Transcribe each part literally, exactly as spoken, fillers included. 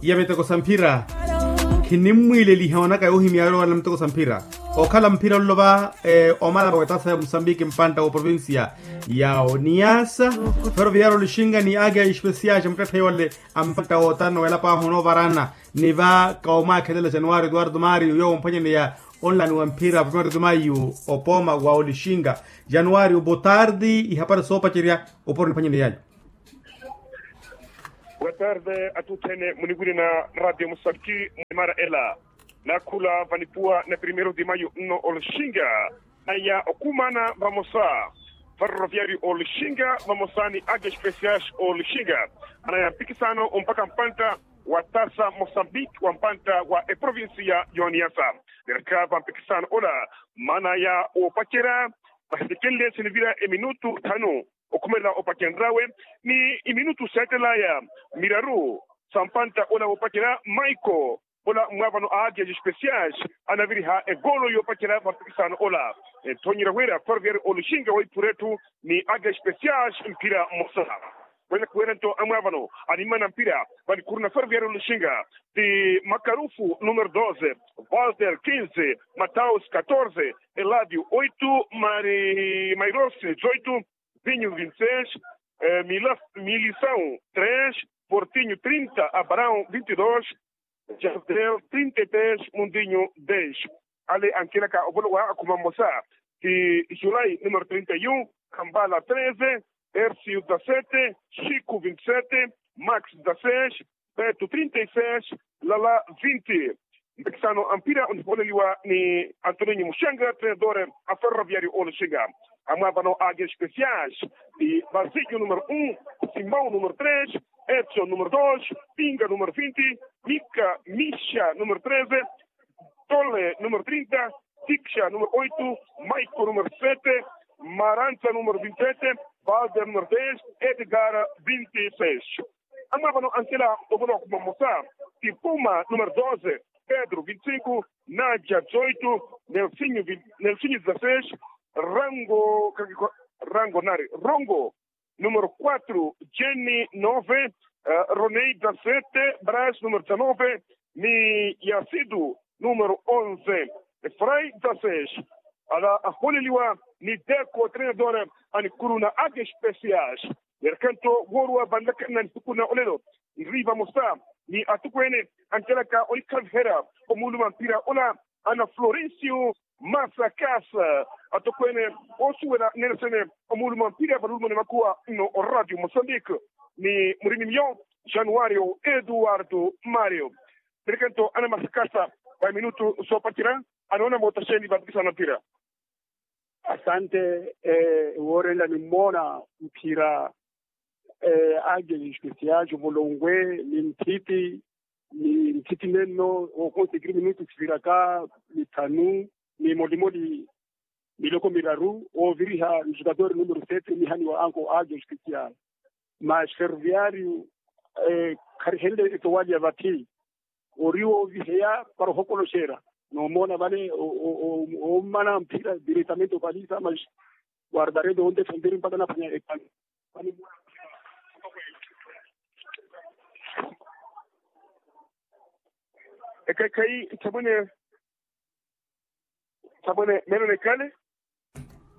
Ya miteko sa mphira. Khinimmwiileliha onaka yoohimya yoowana miteko sa mphira. Okhala mphira olova omala mpaka etasa ya musambiki mpantta wa provincia ya oniyasa. Feroviario olixinga ni akia espesial xa muttetthe yole a mpantta wootana weelapaahu onoovarana. Ni va kawoomwaakhelela januari eduardo mario yoowo omphwanyaneya onlani wa mphira primeiro de maio opooma wa olixinga. Januari obotardi ihapari soopacerya oporo niphwanyaneyanyu. Boa tarde atutthene muniwirina radio musabki mwimaara ela. Naakhula vanipuwa na primeiro de maio nno olixinga. Aya okumaana vamosa ferroviario olixinga vamosa ni ake especiais olixinga. Anaya mpikisano mpaka mpantta wa tasa mosambiki wa mpantta wa eprovincia yoniasa. Nerkha va mpikisano ola maana ya opacerya. Vahisekenle sinivira eminutu thanu okhumelela opacenryawe ni iminutu seetelaya miraru sa mpantta ola woopacerya maiko ola mwaavano a agias especiais anaviriha egoolo yoopacerya va mpikisano ola. Enthonyerya wira ferroviario olixinga weiphura etthu ni agias especiais mphira mmosa. Wene kuwene nto amwaavano animmana mpira vanikhuru na ferroviario olixinga ti makarufu numero doze, walter quinze, mataus catorze, eladio oito, mairosi dezoito, vinho vinte e seis, milisão três, portinho trinta, abraão vinte e dois, jardel trinta e três, mundinho dez. Ale ankelaka ovolowa akhuma mmosa ti julai numero trinta e um, kambala treze, ercio dezasete, chico vinte e sete, max dezasseis, beto trinta e seis, lala vinte. Mpikisano a mpira onihooleliwa ni antoninho muxanga treinador a ferroviario olixinga. Amwaavano a agias especiais ti basilio numero um, simão numero três, edson numero dois, pinga numero vinte, mika mixa numero treze, tole numero trinta, tixa numero oito, maiko numero sete, maranza numero vinte e sete, valder numero dez, edgar vinte e seis. Amwaavano ankela ovolowa khuma mmosa ti puma numero doze, pedro vinte e cinco, naja dezoito, nelsinho dezasseis, rango rango nari rongo numero quatro, jenny nove, ronei dezasete, bras numero dezanove, ni yasidu numero onze, efrai dezasseis. Ala ahooleliwa ni deko treinador a nikuru na ake especiais. Neerkhanto wooriwa vanlakhanna nihiku na olelo nri vamosa ni atukweene ankelaka onikhaviherya omuuluma mpira ola ana florencio masakasa. Atokweene oosuwela nneene sene omuuluma mpira valuulumani makuwa nno oradio mosambike ni murini miyo januario eduardo mario. Neerkhanto ana masakasa va minutu soopacerya anoona mootaxeeni va mpikisano mpira. Asante. Woorenla nimmoona mphira ake especial omulongwe ni nthiti ni nthiti nenno okonsekiri minutu siviraka mithanu ni molimoli miloko miraru ooviriha njukatori numero sete nihaniwa anko ake especial. Mas ferroviario kharihenle etowali ya vathi ori wooviheya para ohokoloxera. Noomoona vale ommana mphira diretamente opalisa mas guardarede onde fenteri mpaka naphwanya ekani. Ekhaikhayi nthamwene nthamwene meelo nekhale.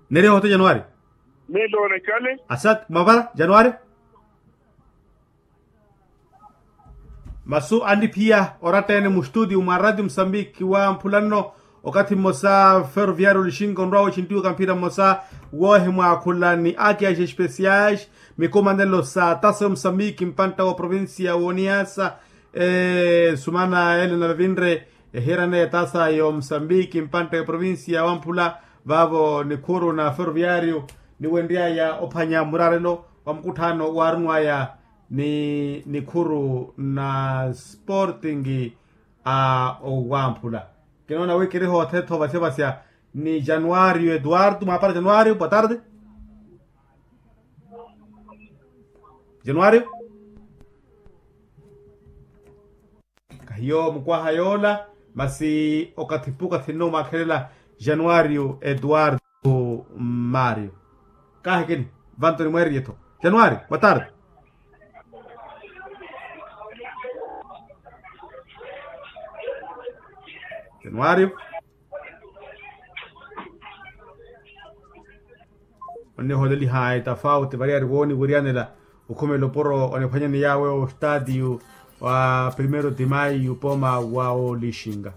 Neeriha ohote januari. Meelo nekhale. Asat mwavala januari. Masu aniphiya oratta-ene mustutio mwa ratio musambiki wamphula nno okathi mmosa ferroviario olixinka onrwa wooxintiwaka mphira mmosa woohimwaakhula ni akiaxi especiais mikumanelo sa tasa yomusambiki mpantta wa provincia wooniyasa. Sumana ele navevinre ehiirana etasa yomusambiki mpantta yoprovincia wamphula vaavo nikhuru na ferroviario niwenry'aya ophwanya muraarelo wa mukutthaano waarunw'aya ni nikhuru na sporting a owamphula. Kinoona wi kiri hoothetho vasya vasya ni januario eduardo mwaapara januario boa tarde. Januario kahiyo mukwaha yoola masi okathi pukathi nno mwaakhelela januario eduardo mario. Kaahikini vanto nimweeriye-tho januario boa tarde. Nwari. Onnihoolelihayi tafauti variyari wooniwiryanela okhumela opuro oniphwanyani yawe ostaatiyu wa primero de mayu poma wa olixinga.